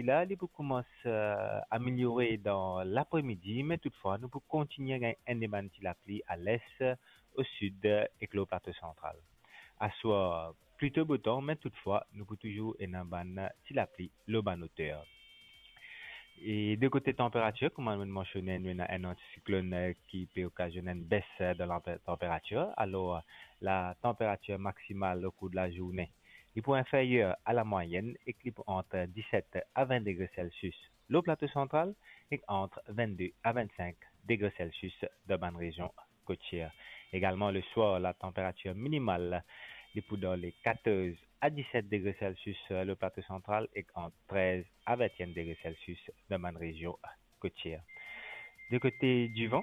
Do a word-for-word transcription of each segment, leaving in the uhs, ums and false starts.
La, li pou koumans, eh, ameliore dan lapremidi, me toutfwa, nou pou kontigne gagn enn de bann ti lapli a les, o sid ek lor Plato Santral. Aswar, plito botan, me toutfwa, nou pou touzour ena bann ti lapli lor bann oter. E de kote tanperatir, kouma nou mansione, nou ena enn antisiklonn, eh, ki pe okazionn enn bes, eh, dan la tanperatir. Alor, la tanperatir maksimal o kour de lazourne, li pou inferyer a lamwayenn ek li pou ant diset a vin degre Celsius lor Plato Santral ek ant vinn-de a vinn-sink degre Celsius dan bann rezion kotier. Egalman, leswar, la tanperatir minimal, li pou dan le katorz a diset degre Celsius, eh, lor Plato Santral ek ant trez a vinn-enn degre Celsius dan bann rezion kotier. De kote divan,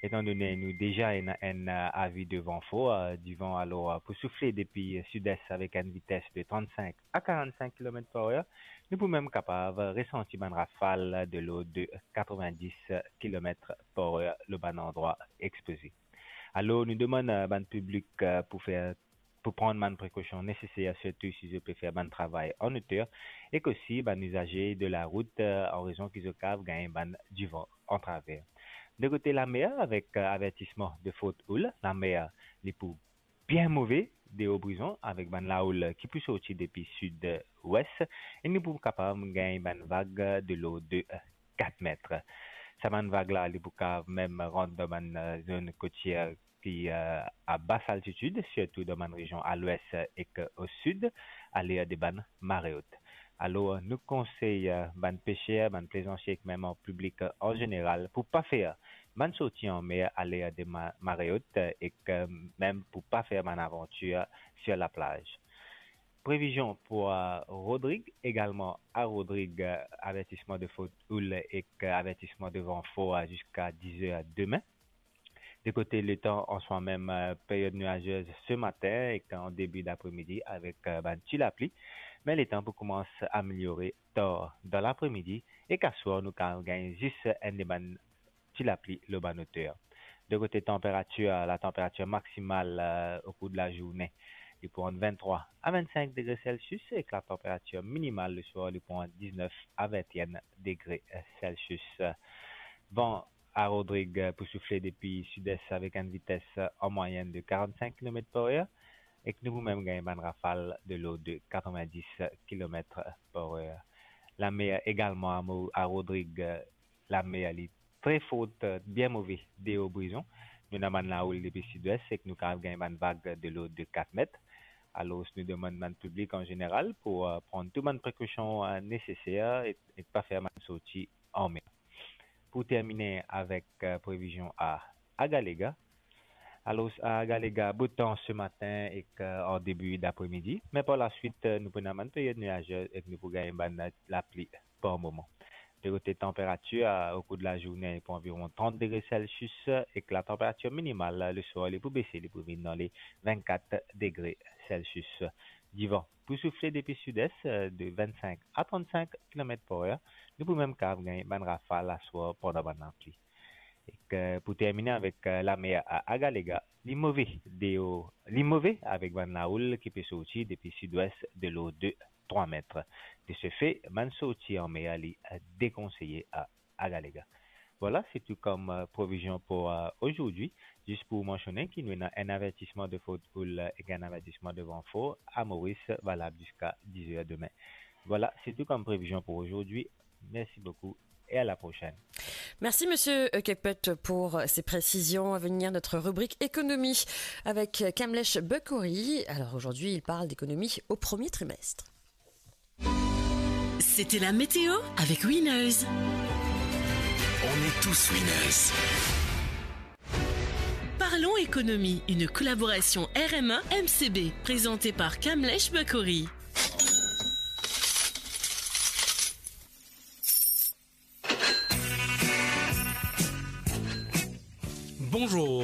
etandone nou deza ena enn, eh, avi de van for, eh, divan alor, eh, pou soufle depi, eh, sides avek enn vites de trant-sink a karant-sink kilomet par er, nou pou mem kapav resanti bann rafal de lord de katrovin-dis kilomet par er lor bann landrwa expoze. Alor, nou demann, eh, bann piblik, eh, pou fer, pou pran bann prekosion neseser, sirtou si zot pe fer bann travay an oter, ek osi bann izaze de larout, eh, an rezon ki zot kav gagn bann divan an traver. De kote lamer, avek, eh, avertisman de forte houle, lamer, li pou bien move deor Brizon, avek bann lahoul ki pou sorti depi sid-wes, e nou pou kapav gagn bann vag de lord de kat met. Sa bann vag la, li pou kav mem rant dan bann, eh, zone kotier ki, eh, a bas altitid, sirtou dan bann rezion a lwes ek o sid, aler de bann mare ot. Alor, nou konsey, eh, bann peser, bann plezansier, ek mem an piblik, eh, an zeneral, pou pa fer bann sorti anmer aler de ma-, mare ot, eh, ek, eh, mem pou pa fer bann avantir sir laplaz. Previzion pou, eh, Rodrig, egalman a Rodrig, eh, avertisman de forte houle ek, eh, avertisman de van for, eh, ziska diz er demin. De kote letan, an swa mem, eh, period nuazez se matin ek an debi dapremidi avek, eh, bann ti lapli, me letan pou koumans ameliore tar dan lapremidi, ek aswar nou kav gagn zis enn de bann ti lapli lor bann oter. De kote tanperatir, la tanperatir maksimal, eh, o kour de lazourne, li pou ant vinn-trwa a vinn-sink degre Celsius, ek la tanperatir minimal leswar, li pou ant diznef a vinn-enn degre Celsius. Van a Rodrig, eh, pou soufle depi sides avek enn vites, eh, an mwayenn de karant-sink kilomet par er, ek nou pou mem gagn bann rafal de lord de katrovin-dis kilomet par er. Lamer egalman a Mo-, a Rodrig, eh, lamer li tre forte, eh, bien move deor Brizon. Nou ena bann lahoul depi sidwes, ek nou kav gagn bann vag de lord de kat met. Alor, nou demann bann piblik an zeneral pou, eh, pran tou bann prekosion, eh, neseser e, e pa fer bann sorti anmer. Pou termine avek, eh, previzion a Agalega. Alor, a Agalega, bo tan se matin ek, eh, an debi dapremidi, me par laswit, eh, nou pou ena bann period nuazez ek nou pou gagn bann lapli par moman. De kote tanperatir, eh, o kour de lazourne, pou anviron trant degre Celsius, ek la tanperatir minimal, eh, leswar, li pou bese, li pou vinn dan le vinn-kat degre Celsius. Divan pou soufle depi sidwes, eh, de vinn-sink a trant-sink kilomet par er, nou pou mem kav gagn bann rafal aswar pandan bann lapli. Ek, eh, pou termine avek, eh, lamer a Agalega, li move deor, li move avek bann lahoul ki pe sorti depi sidwes de lord de trwa met. De se fe, bann sorti anmer li, eh, dekonseye a Agalega. Vwala, se tou kom, eh, previzion pou, eh, ozordi. Zis pou mansione ki nou ena enn avertisman de forte houle ek enn avertisman de van for a Moris, valab ziska diz er demin. Vwala, se tou kom previzion pou ozordi. Merci beaucoup et à la prochaine. Merci, monsieur Kepet, pour ces précisions. À venir, notre rubrique économie avec Kamlesh Bukhuri. Alors aujourd'hui, il parle d'économie au premier trimestre. C'était la météo avec Winners. On est tous winners. Parlons économie, une collaboration R M A M C B, présentée par Kamlesh Bukhuri. Bonjour.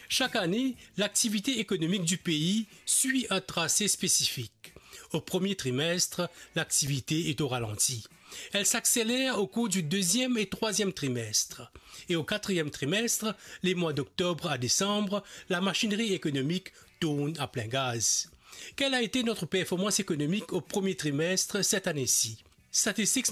Chaque année, l'activité économique du pays suit un tracé spécifique. Au premier trimestre, l'activité est au ralenti. Elle s'accélère au cours du deuxième et troisième trimestre. Et au quatrième trimestre, les mois d'octobre à décembre, la machinerie économique tourne à plein gaz. Quelle a été notre performance économique au premier trimestre cette année-ci ? Statistics